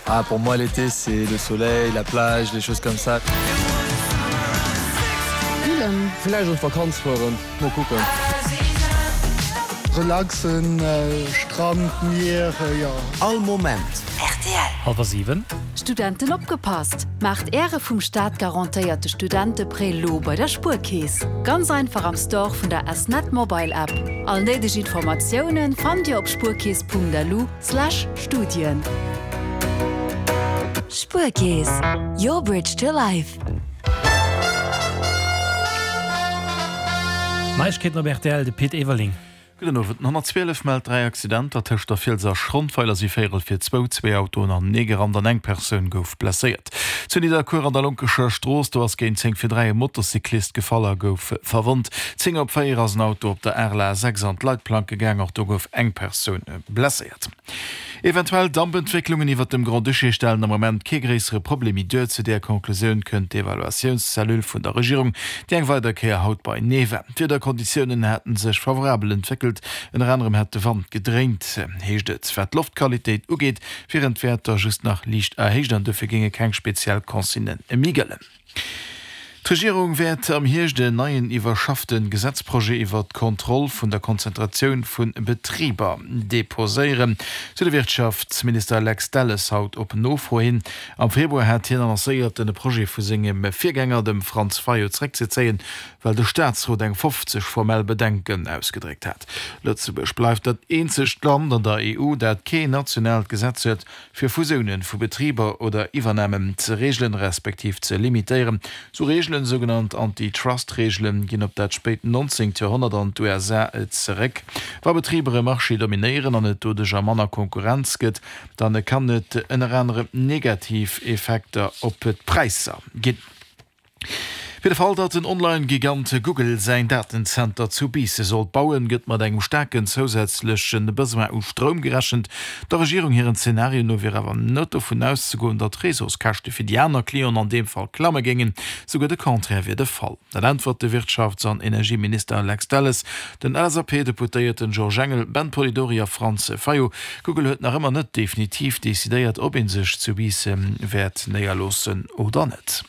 Ah pour moi l'été c'est le soleil, la plage, les choses comme ça. Spillen. Villäicht an d'Vakanz fueren, mol kucken. Relaxen, Strand, Mier, jo. All Moment. Rtl. Halwer 7. Studenten opgepasst! Maacht Äre vum Staat garantéierte Studenteprêt lo bei der Spuerkeess. Ganz einfach am Store vun der S-Net Mobile App. All néideg Informatiounen fannt Dir op spuerkeess.lu slash Studien. Spuerkeess, your bridge to life. Neiegkeeten op rtl, de Pit Everling. Gudden Owend. Den 112 mellt 3 Accidenter tëscht der Fiels a Schrondweiler si véierel fir zwou zwee Autoen anenee gerannt an eng Persoun gouf blesséiert. Zu Nidderkuer an der Lonkescher Strooss, do ass géint 10 fir 3 e Motocyclist gefall a gouf verwonnt. 10 op 4 ass en Auto op der Arel A6 an d'Leitplanke gaang, och do gouf eng Persoun blesséiert. Eventuell Dampentwécklungen iwwert dem Grand-Duché stellen am Moment kee gréissere Problem méi duer. Zu där Conclusioun kënnt d'Evaluatiounscellule vun der Regierung, déi eng weider Kéier haut beinee war. D'Wiederkonditiounen hätte sech favorabel entwéckelt, ënner anerem hätt de Wand gedréint, heescht et. Wat d'Loftqualitéit ugeet, wieren d'Wäerter just nach liicht erhéicht an dofir géinge keng speziell Consignë méi gëllen. D'Regierung wäert am Hierscht en neien iwwerschaffte Gesetzprojet iwwert d'Kontroll vun der Konzentratioun vu Betriber deposéieren, sou de Wirtschaftsminister Lex Delles haut op Nofro hin. Am Februar hat hien annoncéiert, den Projet vu sengem Virgänger, dem Franz Fayot, zeréckzezéien, well de Staatsrot eng 50 formell Bedenken ausgedréckt hat. Lëtzebuerg bleift dat eenzegt Land an der EU, dat kee nationaalt Gesetz huet, fir Fusiounen vu Betriber oder Iwwernamen ze reegelen, respektiv ze limitéieren. Sou Reegelen, sougenannt Antitrust-Reegelen, ginn op dat spéit 19. Joerhonnert an d'USA zeréck. Wa Betriber e Marché dominéieren an et doduercher manner Konkurrenz gëtt, dann kann et ënner anerem negativ Effekter op d'Präisser ginn. Fir de Fall, datt den Online-Gigant Google säin Datenzenter zu Biissen sollt bauen, gëtt mat engem staarken zousätzleche Besoin u Stroum gerechent. Der Regierung hiren Zenario no wier awer net dovun auszegoen, datt d'Réseauskäschte fir déi aner Clienten an deem Fall klamme géingen. Souguer de Contraire wier de Fall. Dat äntwert de Wirtschafts an Energieminister Lex Delles den LSAP-Deputéierten Georges Engel, Ben Polidori a Franz Fayot. Google huet nach ëmmer net definitiv decidéiert, ob ee sech zu Biissen wäert néierloossen oder net.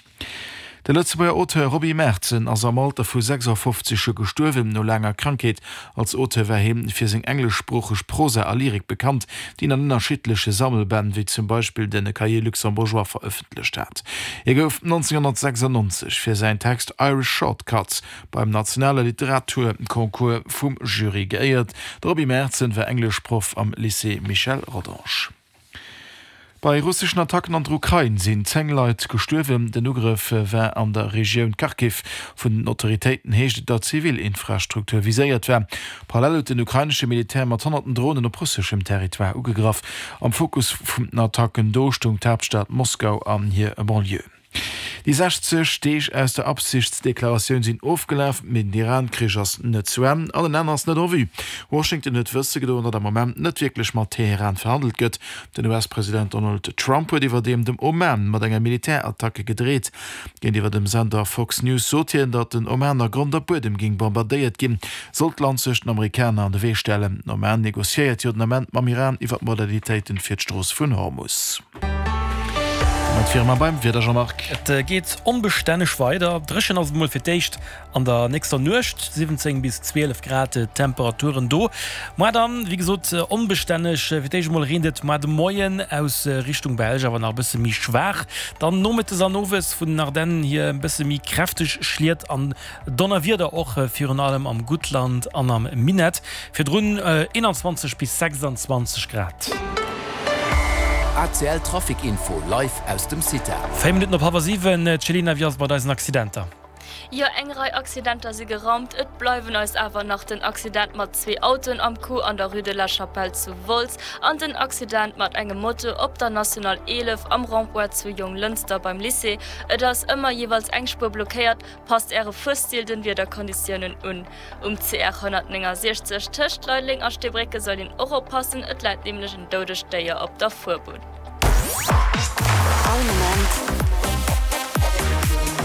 De Lëtzebuerger Auteur Roby Merzen ass am Alter vu 56 Joer gestuerwen, no laanger Krankheet. Als Auteur war hie fir seng engleschsproocheg Prosa a Lyrik bekannt, déi en an ënnerschiddleche Sammelbänn, wéi zum Beispill de Cahiers luxembourgeois, verëffentlecht hat. Hie gouf 1996 fir säin Text Irish Shortcuts beim nationale Literaturconcours vum Jury geéiert. De Roby Merzen war Engleschproff am Lycée Michel Rodange. Bei russeschen Attacken an der Ukrain sinn 10 Leit gestuerwen. Den Ugrëff war an der Regioun Kharkiv. Vun den Autoritéiten heescht et, datt zivil Infrastruktur viséiert war. Parallel huet den ukrainesche Militär mat honnerten Dronen op russeschem Territoire ugegraff. Am Fokus vun den Attacken do stoung d'Haaptstad Moskau an hir Banlieue. Déi 60 Deeg aus der Absichtsdeklaratioun sinn ofgelaf, mee den Iran-Krich ass net zu Enn an en Enn ass net en vue. Washington huet wësse gedoen, datt am Moment net wierklech mat Teheran verhandelt gëtt. Den US-President Donald Trump huet iwwerdeem dem Oman mat enger Militärattacke gedreet. Géintiwwer dem Sender Fox News sot hien, datt den Oman a Grond a Buedem géing bombardéiert ginn, sollt d'Land sech den Amerikaner an de Wee stellen. Den Oman negociéiert jo den Ament mam Iran iwwer d'Modalitéiten fir d'Strooss vun Hormus. Domat wiere mer beim Wieder, Jean-Marc. Et geet onbestänneg weider. Dréchen ass et mol fir d'éischt an der nächster Nuecht, 17 bis 12 Grad d'Temperaturen do. Moar dann, wéi gesot, onbestänneg. Fir d'éischt emol reent et moar de Moien aus Richtung Belsch, awer nach e bësse méi schwaach. Dann nomëttes an owes vun den Ardennen hier e bësse méi kräfteg Schliet an Donnerwieder och virun allem am Guttland an am Minett, virdrun 21 bis 26 Grad. ACL Trafic Info live aus dem CITA. 4 Minutten op hallwer 7, Céline, wéi ass et mat eisen Accidenter? Jo, eng Rei Accidenter si geraumt. Et bleiwen eis awer nach den Accident mat zwee Autoen am Coup an der Rue de la Chapelle zu Wolz an den Accident mat engem Moto op der National 11 am Rond-point zu Jonglënster beim Lycée. Et ass ëmmer jeeweils eng Spuer blockéiert. Passt Äre Fuerstil den Wiederkonditiounen un. Um CR 169 tëscht Leideleng a Steebrécke soll een och oppassen, et läit nämlech en doudegt Déier op der Fuerbunn. All Moment.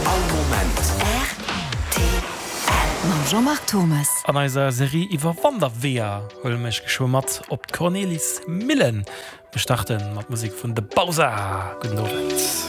All Moment. Rtl. Mam Jean-Marc Thommes. An eiser Serie iwwer Wanderweeër huele mir iech geschwë mat op d'Cornelismillen. Mir starte mat Musek vun The Bausa. Gudden Owend.